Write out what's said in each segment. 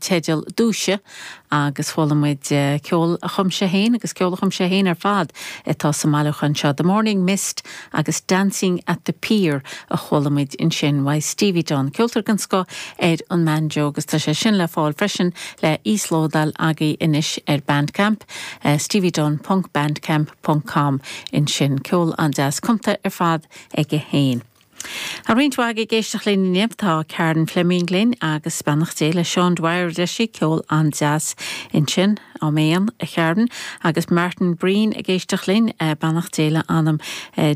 teideal Dúisigh agus chuala muid ceol a chum sé féin agus ceol a chum sé féin ar fad atá sa mbailiúchán seo, The Morning Mist agus Dancing at the Pier a chuala muid ansin uaidh Stevie Dunne, ceoltóir den scoth ar an mbanjo agus tá sé sin le fáil freisin le íoslódáil agaibh anois ar Bandcamp, steviedunne ponc bandcamp ponc com ansin. Ceol an-deas cumtha ar fad aige féin. Tá roinnt mhaith agaibh ag éisteacht linn inniu. Tá Karen Fleming linn agus beannacht Dé le Seán Dwyer a deir sí, ceol an-deas ansin. Áiméan, a Karen. Agus Martin Breen ag éisteacht linn, beannacht Dé le anam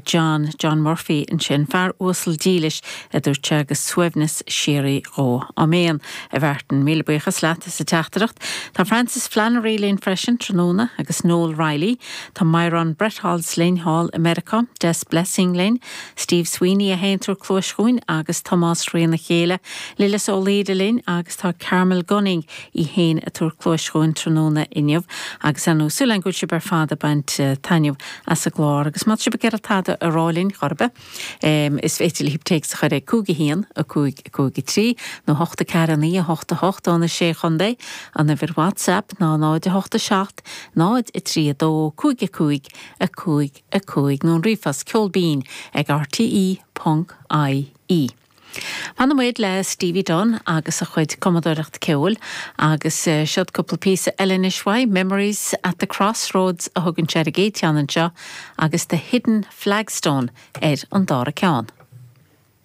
John, John Murphy ansin, fear uasal dílis a dúirt sé agus suaimhneas síoraí dhó. Áiméan, a Mhartin. Míle buíochas leat as an teachtaireacht. Tá Francis Flannery linn freisin tráthnóna agus Noel Reilly. Tá Myron Bretholz linn thall i Meiriceá, Des Blessing linn, Steve Sweeney é féin ag tabhairt cluais dhúinn agus Tomás Thrína Chéile, Lillis Ó Laoire linn agus tá Carmel Gunning í féin ag tabhairt cluais dhúinn tráthnóna inniu agus ar ndóigh súil againn go bhfuil sibh ar fad ag baint taitneamh as an gclár agus má tá sibh ag iarraidh tada a rá linn chor ar bith is féidir libh téacs a chur ag 5 1 5 5 3 nó 8 4 9 8 8 ó na Sé Chontae, an uimhir WhatsApp ná 0 8 7 0 3 2 5 5 5 5 nó an ríomhphost ceolbinn ag rte ponc ie. Fanfaidh muid le Stevie Dunne agus a chuid cumadóireacht ceoil agus seod cúpla píosa eile anois uaidh, Memories at the Crossroads a thugann sé ar an gcéad cheann anseo agus The Hidden Flagstone ar an dara ceann.